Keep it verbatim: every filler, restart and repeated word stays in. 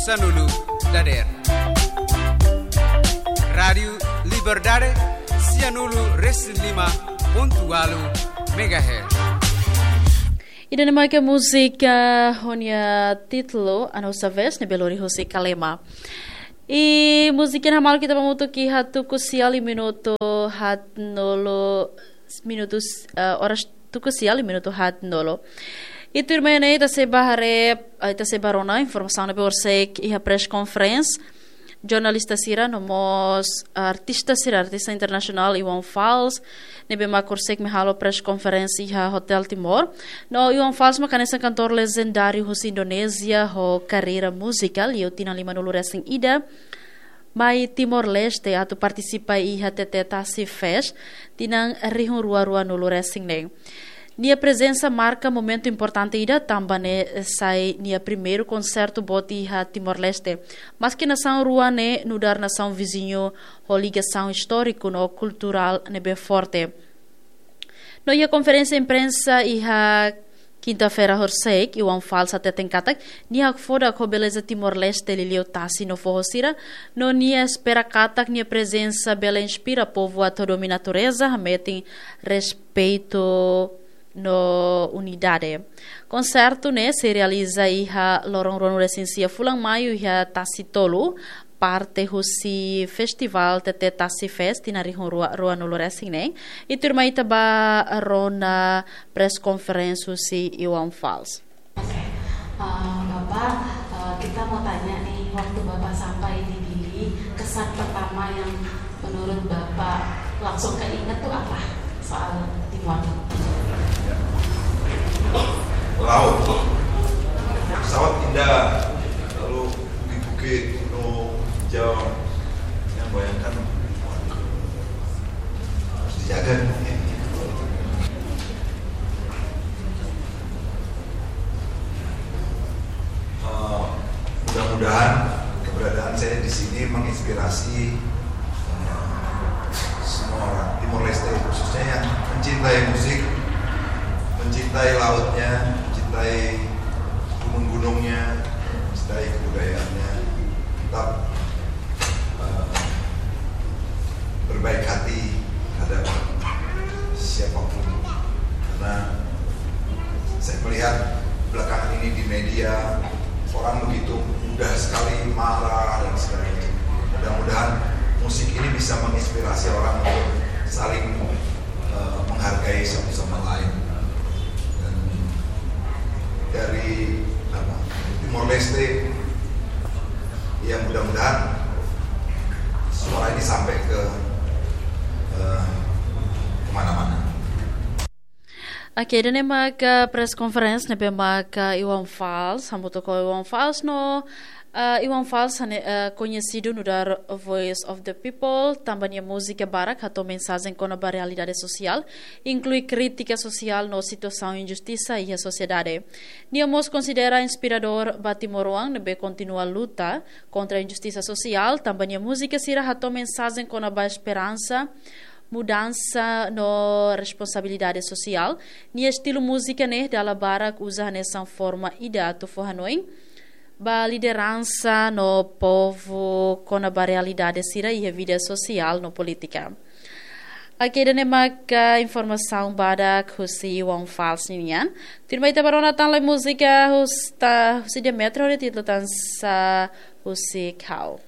Sanulu dadeer. Rádiu Liberdade, sianulu resin lima pontu ualu megahertz. Ida-ne'e mak múzika ho nia títulu Anus Aves, ne'ebé lori husi Kalema. I múzika ne'e hamaluk ita ba hamutuk iha tuku sia liu minutu haatnulu, minutus, eh, oras tuku sia liu minutu haatnulu. I tuirmai ne'e ita sei bá haree, eh, ita sei bá rona informasaun ne'ebé horisehik iha press conference jornalista sira no mós artista sira, artista internasionál Iwan Fals, ne'ebé mak horisehik mai halo press conference iha Hotel Timor. No Iwan Fals mak hanesan kantór lejendáriu husi Indonézia ho karreira múzika liu tinan limanulu resin ida mai Timor-Leste atu partisipa iha T T Tasi Fest tinan rihun rua ruanulu resin neen. Nia prezensa marka momentu importante ida tanba ne'e sai nia primeiru konsertu boot iha Timor-Leste. Maski nasaun rua ne'e nu'udar nasaun viziñu ho ligasaun istóriku no kulturál ne'ebé forte. No iha konferénsia imprensa iha kinta-feira horisehik, Iwan Fals hateten katak nia hakfodak ho beleza Timor-Leste, liuliu tasi no foho sira, no nia espera katak nia prezensa bele inspira povu atu hadomi natureza, hametin respeitu no unidade. Konsertu ne'e sei realiza iha loron ruanulu resin sia fulan Maiu iha Tasi Tolu, parte husi Festival T T Tasi Fest tinan rihun rua ruanulu resin neen. I tuirmai ita bá rona press conference husi Iwan Fals. Oke. Eh, Bapak, eh, kita mau tanya nih, waktu Bapak sampai di Dili, kesan pertama yang menurut Bapak langsung keinget tuh apa soal Timor? Laut. Pesawat indah, lalu bukit-bukit, gunung, hijau. Yang bayangkan, waduh, harus dijaga nih. Eh, mudah-mudahan keberadaan saya di sini menginspirasi, eh, semua orang Timor Leste, khususnya yang mencintai musik, mencintai lautnya, mencintai gunung-gunungnya, mencintai kebudayaannya. Tetap eh, berbaik hati terhadap siapapun. Karena saya melihat belakangan ini di media, orang begitu mudah sekali marah dan sebagainya. Mudah-mudahan musik ini bisa menginspirasi orang untuk saling, eh, menghargai satu sama lain. Dan dari, apa, Timor Leste, ya, mudah-mudahan suara ini sampai ke, eh, kemana-mana. Oke, ida-ne'e mak press conference ne'ebé mak Iwan Fals, hamutuk ho Iwan Fals no, eh, Iwan Fals hanesan, eh, koñesidu nu'udar Voice of the People, tanba nia múzika barak hato'o mensajen kona-ba realidade sosiál, inklui krítika sosiál no situasaun injustisa iha sosiedade. Nia mós konsidera inspiradór ba timoroan ne'ebé kontinua luta kontra injustisa sosiál, tanba nia múzika sira hato'o mensajen kona-ba esperansa, mudansa no responsabilidade sosiál. Nia estilu múzika ne'e dala barak uza hanesan forma ida atu fó hanoin ba lideransa no povu kona-ba realidade sira iha vida sosiál no polítika. Oke, ida-ne'e maka informasaun badak husi Iwan Fals nian. Tuirmai ita bá rona tan lai múzika husi, husi Demetrio, ho títulu Tansa Husik Ha'u.